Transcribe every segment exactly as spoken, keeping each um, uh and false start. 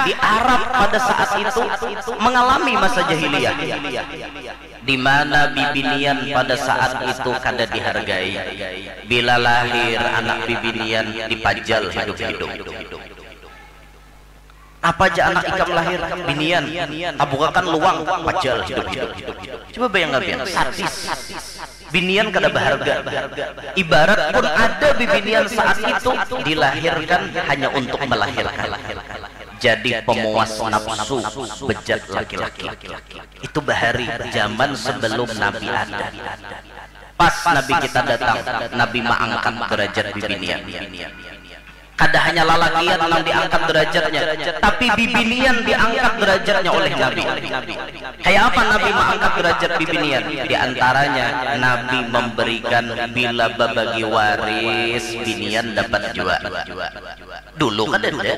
di Arab pada saat itu mengalami masa jahiliyah, di mana bibinian pada saat itu kada dihargai. Bila lahir anak bibinian, dipajal hidup-hidup. Apa aja anak ikam lahir, binian, tabukakan luang, pajal hidup-hidup. Coba bayangkan, sadis. Binian kada berharga. Ibarat pun ada bibinian saat itu dilahirkan hanya untuk melahirkan. Jadi pemuas nafsu bejat laki-laki. Itu bahari zaman sebelum Nabi ada. Pas Nabi kita datang, Nabi maangkat derajat bibinian. Kada hanya lalakian nang diangkat derajatnya, tapi bibinian diangkat derajatnya oleh Nabi. Kayak apa Nabi maangkat derajat bibinian? Di antaranya Nabi memberikan bila babagi waris binian dapat jua. Dulu kada ada.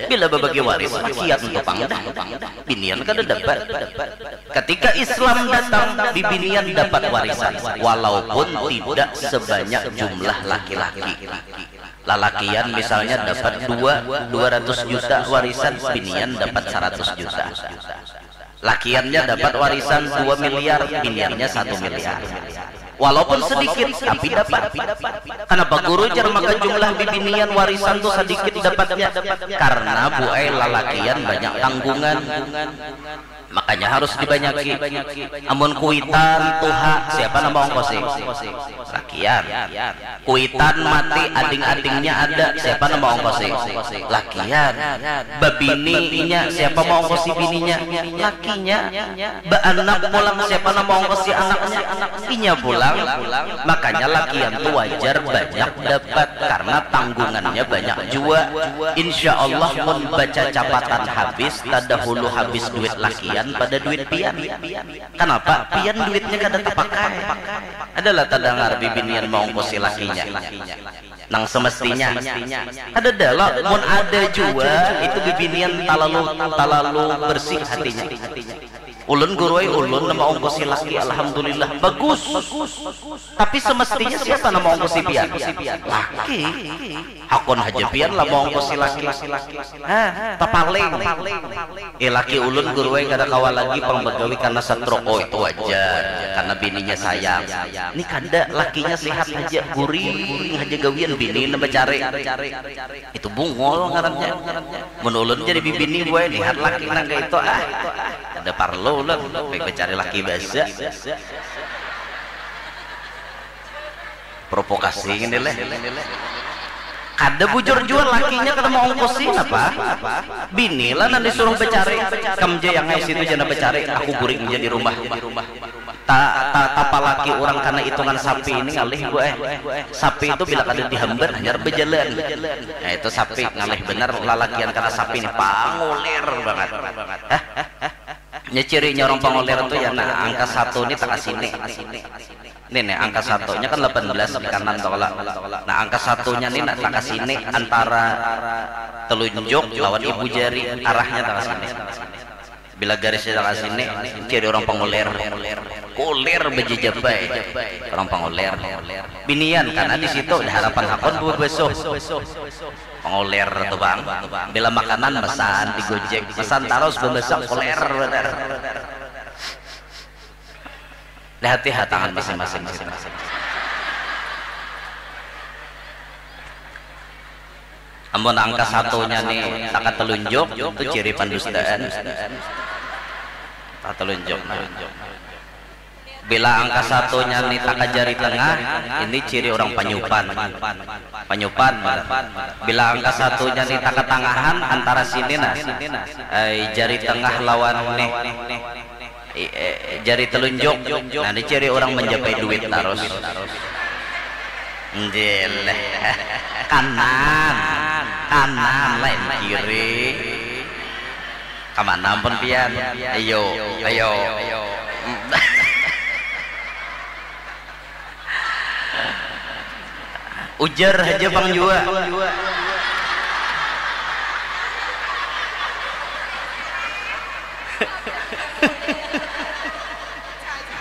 Bila babagi waris rakyat tu pang dah. Binian kada dapat. Ketika Islam datang, bibinian dapat warisan walaupun tidak sebanyak jumlah laki-laki. Lalakian misalnya dapat dua, dua ratus juta warisan, binian dapat seratus juta. Lakiannya dapat warisan dua miliar, biniannya satu miliar. Walaupun sedikit, tapi dapat. Kenapa guru jar maka jumlah bibinian warisan tu sedikit dapatnya? Karena buai lalakian banyak tanggungan. Makanya harus dibanyaki. Amun kuitan tuha, siapa nama ongkosi? Lakian. Kuitan mati, ading-adingnya ada, siapa nama ongkosi? Lakian. Babini inya, siapa mau ongkosi bininya? Lakinya. Baanak pulang, siapa nama ongkosi anaknya? Inya pulang. Makanya lakian tu wajar banyak dapat karena tanggungannya banyak jua. Insya Allah mun baca capatan habis, tadahulu habis duit lakian pada duit pian. Kanapa? Pian duitnya kada tapakai. Adalah tadangar bibinian maongkosi lakinya nang semestinya. Kadada lo, mun ada jua itu bibinian talalu, talalu bersih hatinya. Ulun guru ai, ulun nang maongkosi laki, alhamdulillah bagus. Tapi semestinya siapa nang maongkosi pian? Laki. Hakun haja pian lah maongkosi laki. Hah, tapaling. Eh, laki ulun guru ai kada kawa lagi pang bagawi karena stroke. Oh, itu wajar, karena bininya sayang. Ni kada, lakinya sehat haja, guring haja gawian, bini nang bacari. Itu bungul ngarannya. Mun ulun jadi bibini, buai lihat laki nang kaya itu, ah, kada parlu ulun, baik bacari laki basa. Provokasi ngini leh. Kada bujur jua lakinya kada maongkosi napa? Bini lah nang disuruh bacari. Kam ja yang ai situ ja nang bacari, aku guring ja di rumah. Ta, ta, tapalaki urang kana itungan sapi ini ngalih bu eh. Sapi itu bila kada dihambat hanyar bajalan. Nah itu sapi ngalih banar lalakian kana sapi ini, pangulir bangat. Hah? Nya cirinya urang pangulir tu ya, nah angka satu ni takasini. Ni nih angka satunya kan lapan belas di kanan tu kalo. Nah angka satunya ni nah takasini antara telunjuk lawan ibu jari, arahnya takasini. Bila garisnya takasini, ciri urang pangulir. Kulir bajajapai urang pangulir. Binian karena di situ ada harapan hakun babasuh. Pangulir tu bang. Bila makanan mesan di Gojek, mesan tarus bamasak, kulir banar. Lihati ha tangan masing-masing. Amun angka satunya ni taka telunjuk, tu ciri pandustaan. Taka telunjuk nah. Bila angka satunya ni taka jari tengah, ini ciri urang panyupan. Panyupan. Bila angka satunya ni taka tangahan antara sini nah. Ai jari tengah lawan ni. I- eh, jari telunjuk. Nah, ini ciri orang menjapai duit tarus. Njileh. Kanan. Kanan lain kiri. Kamana ampun pian? Ayo, ayo. Ujar haja pang jua.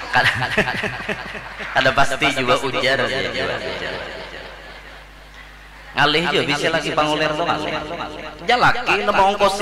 Kada, kada pasti jua ujar haja jua. Ngalih jua bisi laki pangulir tu ngalih. Jalaki nang maongkosi